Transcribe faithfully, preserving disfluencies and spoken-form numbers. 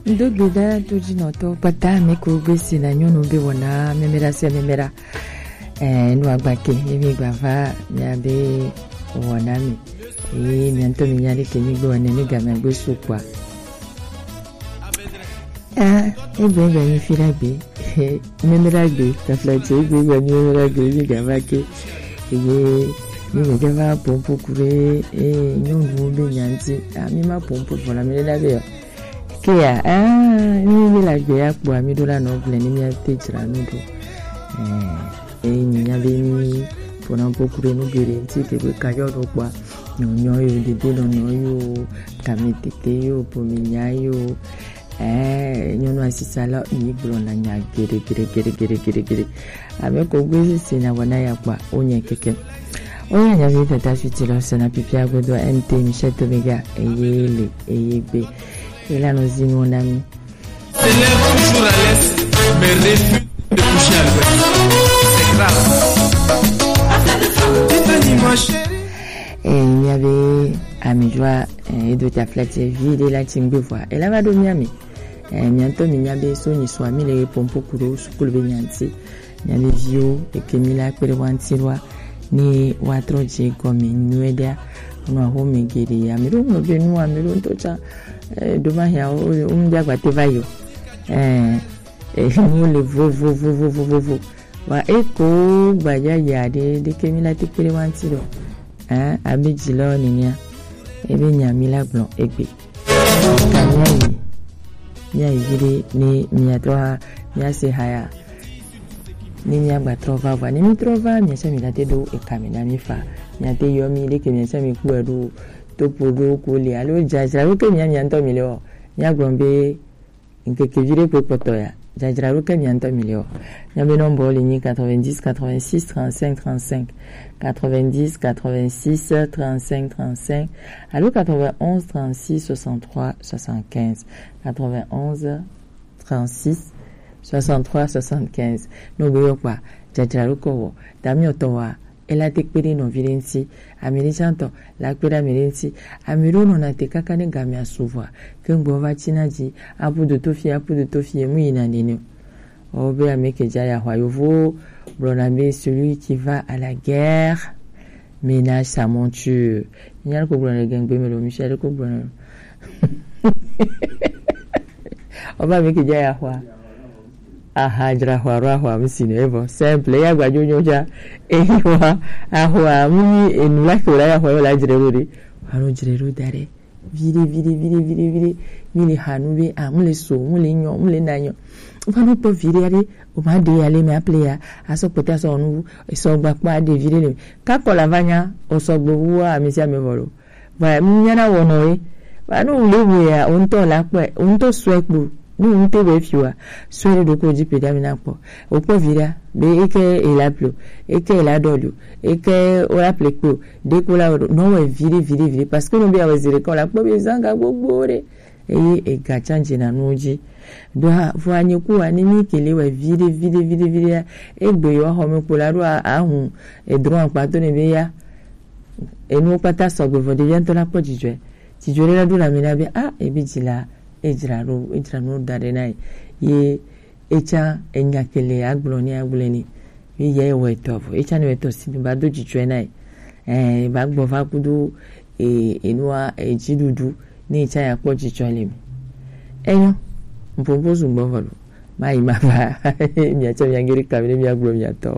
Ŋdo gbe ɖa todzinɔtɔ kpata mi ko gbe si na nyɔnu be wɔna mɛmɛɖa se mɛmɛɖa. Eh, nu agba ke, ye mi gba va mia be wɔna mi. Ye mi ŋutɔ mi nya ɖe ke mi gbe wɔna mi ga mi agbe su kpɔa. Ah, egbe egbe mi fi ɖa gbe. Mɛmɛɖa gbe, taflatse egbe egbe mi mɛmɛɖa gbe mi ga va ke. Eye mi me ga va pompo ku ɖe, eh, nyɔnu be nya ŋuti. Ah, mi ma pompo vɔ la mi ɖe ɖa be yɔ. Kea, ah, mi mi la gbe ya kpɔa mi ɖo la nɔ gblẽ ni mi ate dzra nu ɖo. Eh, eh, mi nya be mi ƒona ƒo ku ɖe nu geɖe ŋuti ke be ka yɔ ɖo kpɔa, nyɔnyɔ yo, dede nɔnɔ yo, kame tete yo, ƒome nya yo. Eh, nyɔnu asisa la mi gblɔ na nya geɖe geɖe geɖe geɖe geɖe geɖe. Ame ko gbe si na wɔna ya kpɔa, o nye keke. O ya nya vi tata fiti lɔ sena pipia godo N T Michel Tomega, eye le, eye gbe. Ela no zinu na mi. Se lève toujours à l'est, mais refuse de coucher à l'ouest. C'est grave. Putain, dis-moi, chérie. Eh, mi nya be ami joa, eh, edo ta flete vi de la tingbe voa. Ela va do mi ami. Eh, mi ŋutɔ mi nya be so nyi so ami le pompo ku ɖo sukulu be nya ŋuti. Miabe viwo eke mi la kpe ɖe wa ŋuti ɖoa, ne woatrɔ dze gɔme nyuie ɖea, nɔ axome geɖe. Ame ɖewo ŋlɔ be nu, ame ɖewo ŋutɔ tsã, eh, ɖo ma hia wo, wo ŋdza gba te va yi o. Eh, eh, nuwo le vovovovovovovo. Wa eko gbadza yi aɖe ɖeke mi la te kpe ɖe wa ŋuti ɖo. Eh, abe dzilawo nenea, ebe nya mi la gblɔ egbe. Ka míayi, míayi viɖe ne míatrɔ ha, míase haya. Ne míagba trɔ va vɔa, ne mítrɔ va, míatsã mígate ɖo eka me na mí fa. Míate yɔ mí ɖeke míatsã mí kpɔe ɖo, topo ɖo ko le, alo dzadzra ɖo ke mía, mía ŋutɔ mí le ɔ. Míagblɔ be ŋkeke viɖe kpe kpɔtɔ ya, dzadzra ɖo ke mía ŋutɔ mí le ɔ. Míabe nɔmba le nyi quatre-vingt-dix quatre-vingt-six trente-cinq trente-cinq, quatre-vingt-dix quatre-vingt-six trente-cinq trente-cinq, alo quatre-vingt-onze trente-six soixante-trois soixante-quinze, quatre-vingt-onze trente-six soixante-trois soixante-quinze. No be yɔ kpa, dzadzra ɖo kɔ wɔ, dami ɔtɔ wa, ela te kpe ɖe nɔvi ɖe ŋuti, ami ɖe tsã tɔ, la kpe ɖe ami ɖe ŋuti, ami ɖewo nɔna te kaka ne gamea su vɔa, ke ŋgbɔ va tsi na dzi, apu do to fie, apu do to fie, mu yina nene o. Ɔ be ame ke dza ya xɔ yovo gblɔna be celui qui va à la guerre ménage sa monture. Nya ko gblɔna le gengbe me lo, Michel ko gblɔna. Ɔ be ame ke dza ya xɔ. Aha, dzra xɔ alo axɔ ame si nɔ evɔ. Simple, ya gbadzo nyo dza. Eyi wa, axɔ ame ni enu la ke la ya xɔ yo la dzre ɖo ɖe. Alo dzre ɖo da ɖe. Viɖe, viɖe, viɖe, viɖe, viɖe. Mi le ha nu be, ah, mu le so, mu le nyɔ, mu le na nyɔ. Va nu kpɔ viɖe aɖe, o ma ɖe ya le me aple ya, asɔ kpɔtɛ asɔ nu, esɔ gba kpɔ aɖe viɖe le. Kakɔ la va nya, o sɔ gbe wu ami sia mi vɔ lo. Va mi nya na wɔ nɔ ye. Va nu le wo ya, o ŋutɔ la kpɔ, o ŋutɔ sɔ kpɔ, nu ŋutɔ be fi wa, sɔ ɖe ɖo ko dzi pe da mi na kpɔ. O kpɔ viɖe, be eke e la plo, eke e la dɔ lo, eke o la ple kpo. Ɖeko la wɔ nɔ wɔ viɖe, viɖe, viɖe, parce que no be awɔ zi ɖeka la kpɔ be zanga gbogbo ɖe. Eye ega tsã dze na nuwo dzi. Ɖo ha, vɔ anyi ku wa, ne mi ke le wɔ viɖe, viɖe, viɖe, viɖe ya, egbe yɔ xɔ me kpo la ɖo a-, ahu, edrɔ akpa to ne be ya. Enuwo kpata sɔgbe vɔ ɖevia ŋutɔ la kpɔ dzidzɔe. Dzidzɔ ɖe la ɖo la mi na be, ah, ebi dzi la, edzra ɖo, edzra nuwo da ɖe na ye. Ye etsã enya ke le agblɔ ni agblɔe ni. Mi yɛ wɔ etɔ vɔ. Etsã ne wɔ etɔ si mi ba do dzidzɔe na ye. Eh, ba gbɔ va kudo, eh, enua, eh, dziɖuɖu. Ne etsã ya kpɔ dzidzɔ le mi. Enyo. Mpopo zu gbɔ vɔ lo. Ma yi ma va. Mia tsã mia geri ka mi ne mia gblɔ mia tɔ.